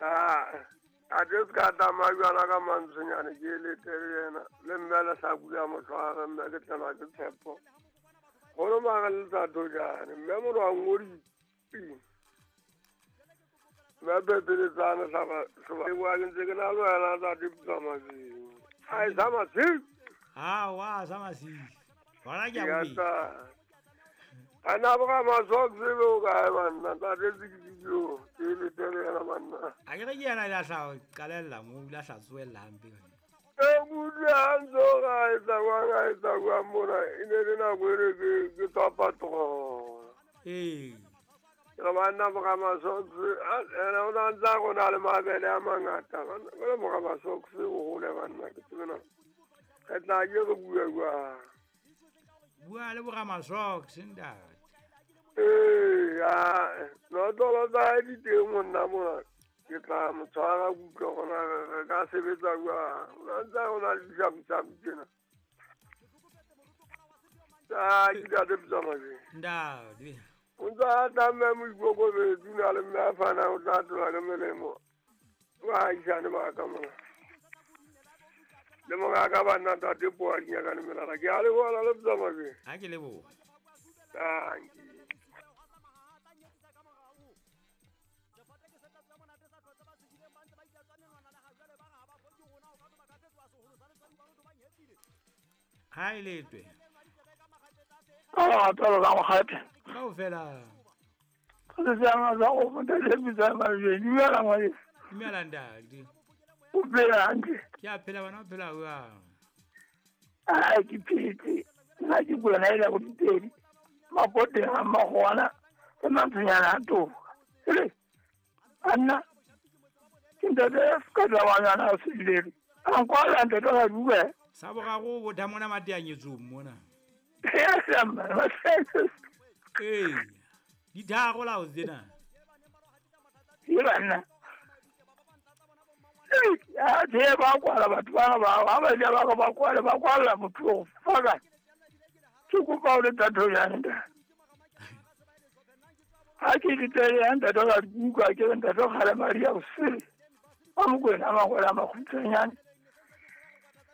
A ke se ka tsamaya jwana ka mantswenyane ke letele yena le mme le sa bula motlhware mme ke tlelwa ke tshepo golo mara le tsa thojane mme moro wa ngodi mme pepeletsane sa ke ntse ke na le wena tsa dipitsa masing a e sa masing awa sa masing gona ke a bobedi a na boga masok sebe o kae banna tate sekidibio ke letele yena banna a ke re ke yena le a sa qalelela mo o ile a sa tsoelela hampe e kutlwe ha ntse o ka etsa kwang a etsa kwang mona e ne le nako e re ke tswa patrola ee ke banna boga masok ene o na ntse a go na le mabele a mangata le boga masok o gole banna ke tsebena re tla ke re bua jwang bua le boga masok ntate ee notlolo tsa hae di teng monna mona ke tla mo tshwara kutlwa gona re ka sebetsa jwang o na ntse a go na le disabusabu tsena a ke tate Pitsamajeng ntate o ntse a tla mme moikokobetsi o na le mme a fanang o tla tlola ke melemo baagisane ba ka mona le mongaka banna tate poa dinyakane melala ke a leboga le Pitsamajeng a ke leboga thank you. Ha e letwe ka lerato ka mokgathe kaofela dumela ngwaneso dumela ntate o phela hantle ke a phela bana o phela jwang a ke phetse nna ke kula na ile go dipedi mapoteng a magwana le mantshonyana a toka ele anna ke ntate ka tabanyana a selele a nkwala ntate ga bue sa boraro bo tha mona mateanyetsong mona ee ditharo lao tsena ke banna a tse ba kwala batho bana ba ba ba ja ba ba kwala ba kwala motho o faka ke kopa o le tathonyane ntate ha ke ditele ya ntate ga kuka ke ntate kgale madi a bosele a Mokwena a mangwele a makgutshwanyane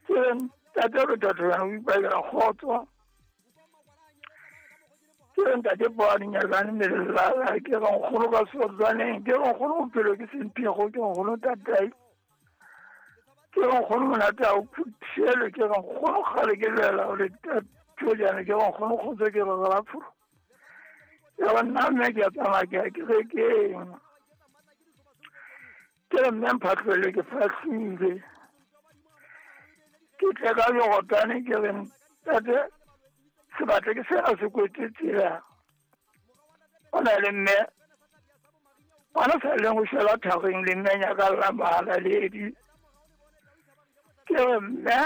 ke ntate re tathonyane o ipakela kgotso ke ntate poa dinyakane melelala ke re nkgono ka seotswaneng ke re nkgono bophelo ke semphego ke nkgono tatai ke re nkgono monate a o phuthelwe ke re nkgono kgale ke lwela o le tathonyane ke re nkgono kgotso ke re ralafolo ya ba nna mme ke a tsamaya ke ya kerekeng ke re mme mphatlhole ke fahlile ke tle ka legotane ke re ntate sebatle ke sena se kwetse tsela o na le mme ngwana sa leng go šela thageng le mme nyakalla mahalaledi ke re mme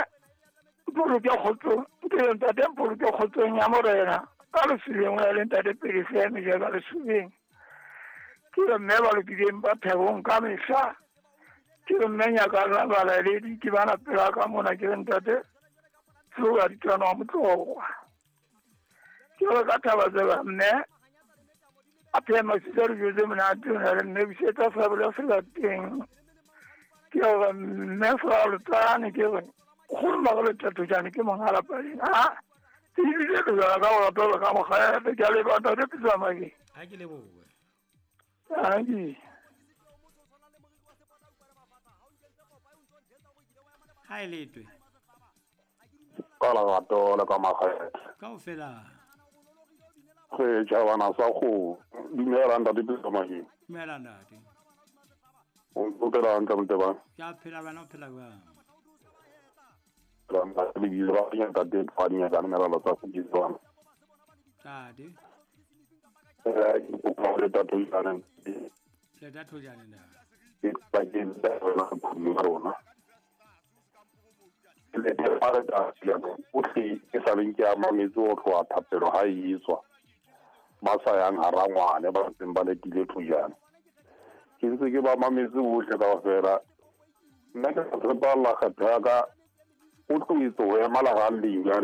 mpoloke kgotsong ke re ntate mpoloke kgotsong ya morena ka lesubeng o ya le ntate pele seeme ja ka lesubeng ke re mme ba lokileng ba thebong ka mehla ke re mme nyakalla balaledi ke bana pela ka mona ke re ntate seo ditwana wa motlogwa ke re ka thaba tseba mme a phema sisa dijo tse monate o na le mme busetsa sabole selateng ke re mme fralotsane ke re kgolo magolo thatojane ke mongalapaleng a ke ebile ke jala ka go ka mokgape ke a leboga ntate Pitsamake a ke leboge tanki ha e letwe ka lerato le ka makgethe kaofela re tjhabana sa go dumela ntate Pitsamake dumela ntate o phela hantle motebang ke a phela bana o phela jwang ntate le tathojane ntate ke sa leng ke a mametse go tloa thapelo ha e tswa ba sa yang hara ngwane ba ntseng ba letile thojane ke ntse ke ba mametse bohle kaofela nna ke tshepalla kgetho ya ka o tloetse ho ema leralleng jwale.